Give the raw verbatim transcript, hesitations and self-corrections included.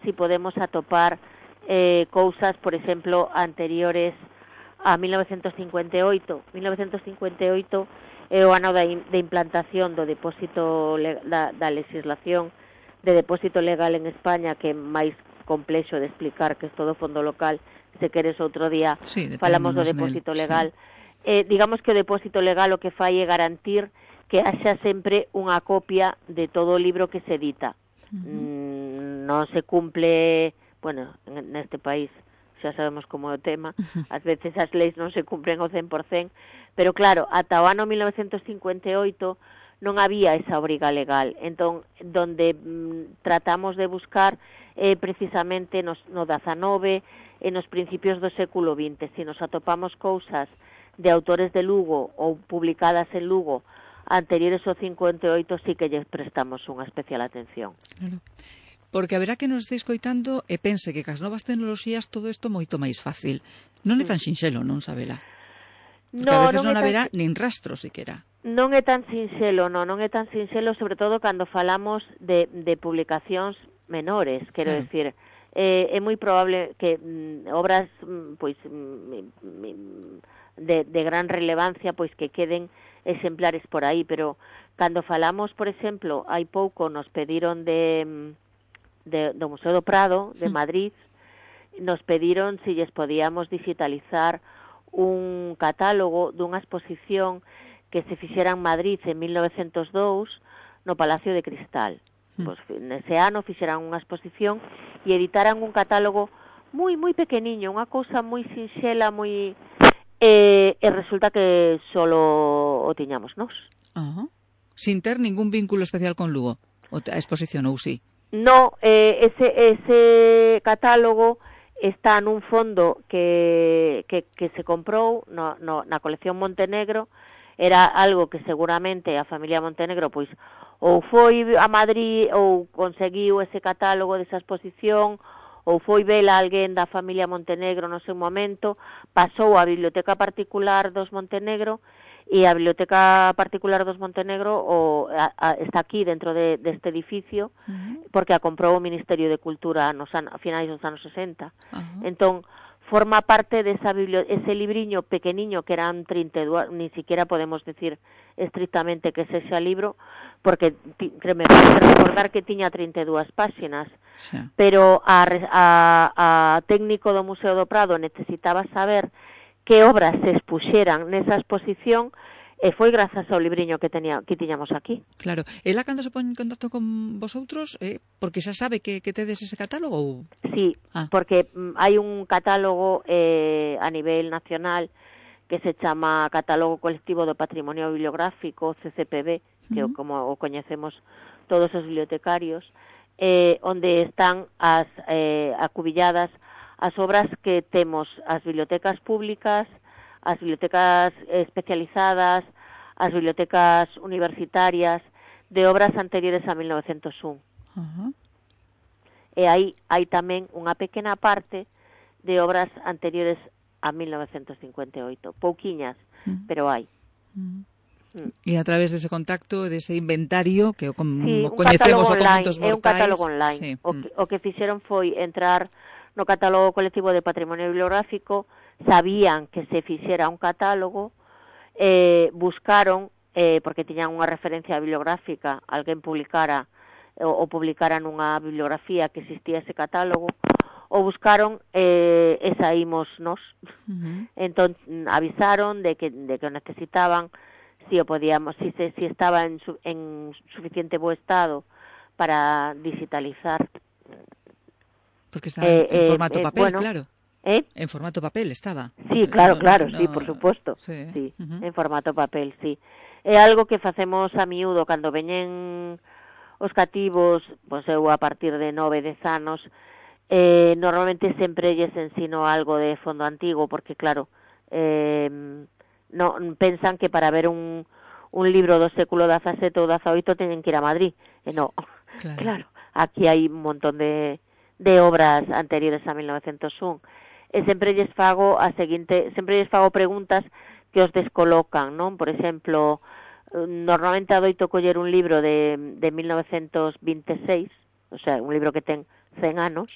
si podemos atopar eh, cousas, por exemplo, anteriores a mil novecientos cincuenta e oito. mil novecientos cincuenta e oito é o ano da, in, de implantación do depósito le, da, da legislación de depósito legal en España, que é máis complexo de explicar, que é todo fondo local. Se queres outro día sí, falamos do depósito nel, legal. Sí. Eh, digamos que o depósito legal o que fai é garantir que haxa sempre unha copia de todo o libro que se edita. Uh-huh. Mm, non se cumple, bueno, neste país xa sabemos como é o tema, ás veces as leis non se cumpren ao cen por cen, pero claro, ata o ano mil novecientos cincuenta e oito non había esa obriga legal. Entón, donde mm, tratamos de buscar eh, precisamente nos, no dezanove e nos principios do século vinte, se nos atopamos cousas de autores de Lugo ou publicadas en Lugo anteriores ao cincuenta e oito, sí que lles prestamos unha especial atención. Claro. Porque haberá que nos este escoitando e pense que cas novas tecnoloxías todo isto moito máis fácil. Non é tan sinxelo, non, Sabela? Porque no, a veces non, non haberá tan... nin rastro, siquera. Non é tan sinxelo, non, non é tan sinxelo, sobre todo cando falamos de, de publicacións menores, quero claro. decir, eh, é moi probable que mm, obras pois mm, de, de gran relevancia pois que queden exemplares por aí, pero cando falamos, por exemplo, hai pouco nos pediron de... De, do Museo do Prado, de Madrid, nos pediron si lles podíamos digitalizar un catálogo dunha exposición que se fixera en Madrid en mil novecientos dous no Palacio de Cristal. Mm. Pois nese ano fixeran unha exposición e editaran un catálogo moi, moi pequeniño, unha cousa moi sinxela, moi... Eh, e resulta que solo o tiñamos nós. Uh-huh. Sin ter ningún vínculo especial con Lugo, a exposición, ou sí? No, eh, ese, ese catálogo está nun fondo que, que, que se comprou no, no, na colección Montenegro. Era algo que seguramente a familia Montenegro pois ou foi a Madrid ou conseguiu ese catálogo desa exposición, ou foi vela alguén da familia Montenegro no seu momento, pasou á biblioteca particular dos Montenegro, e a Biblioteca Particular dos Montenegro o, a, a, está aquí dentro de, deste edificio, uh-huh. porque a comprou o Ministerio de Cultura nos an, a finais dos anos sesenta. Uh-huh. Entón, forma parte desa bibli- ese libriño pequeniño que eran trinta e dous, ni siquiera podemos decir estrictamente que sexa libro, porque ti, me parece recordar que tiña trinta e dúas páxinas, sí. pero a, a, a técnico do Museo do Prado necesitaba saber que obras se expuxeran nesa exposición e foi grazas ao libriño que tenía que tiñamos aquí. Claro. Ela cando se pon en contacto con vosotros, eh, porque xa sabe que, que tedes ese catálogo? Ou... Sí, ah. porque mm, hai un catálogo eh, a nivel nacional que se chama Catálogo Colectivo do Patrimonio Bibliográfico, C C P B, que uh-huh. como o coñecemos todos os bibliotecarios, eh, onde están as eh, acubilladas as obras que temos as bibliotecas públicas, as bibliotecas especializadas, as bibliotecas universitarias, de obras anteriores a mil novecientos un. Uh-huh. E aí hai tamén unha pequena parte de obras anteriores a mil novecientos cincuenta e oito. Pouquiñas, uh-huh. pero hai. Uh-huh. Mm. E a través dese contacto, dese inventario, que o, com, sí, o coñecemos o online, contos mortais... É un catálogo online. Sí. O, que, o que fixeron foi entrar no Catálogo Colectivo de Patrimonio Bibliográfico, sabían que se fixera un catálogo, eh, buscaron, eh, porque tiñan unha referencia bibliográfica, alguén publicara ou, ou publicara nunha bibliografía que existía ese catálogo, ou buscaron eh, e saímos nos. Uh-huh. Entón, avisaron de que, de que o necesitaban, si o podíamos, si, se, si estaba en, su, en suficiente bo estado para digitalizar. Porque estaba eh, en formato eh, papel, bueno, claro. ¿Eh? En formato papel estaba. Sí, claro, no, claro, no, sí, por supuesto. Sí, sí uh-huh. en formato papel, sí. É algo que facemos a miúdo cando veñen os cativos, pois eu a partir de nove, dez anos, eh, normalmente sempre lles ensino algo de fondo antigo, porque claro, eh, no, pensan que para ver un, un libro do século dezasete ou dezaoito teñen que ir a Madrid. E no, claro, claro aquí hai un montón de... de obras anteriores a mil novecientos un. E sempre lles fago a seguinte, sempre lles fago preguntas que os descolocan, non? Por exemplo, normalmente adoito coller un libro de, de mil novecientos vinte e seis, o sea, un libro que ten cen anos,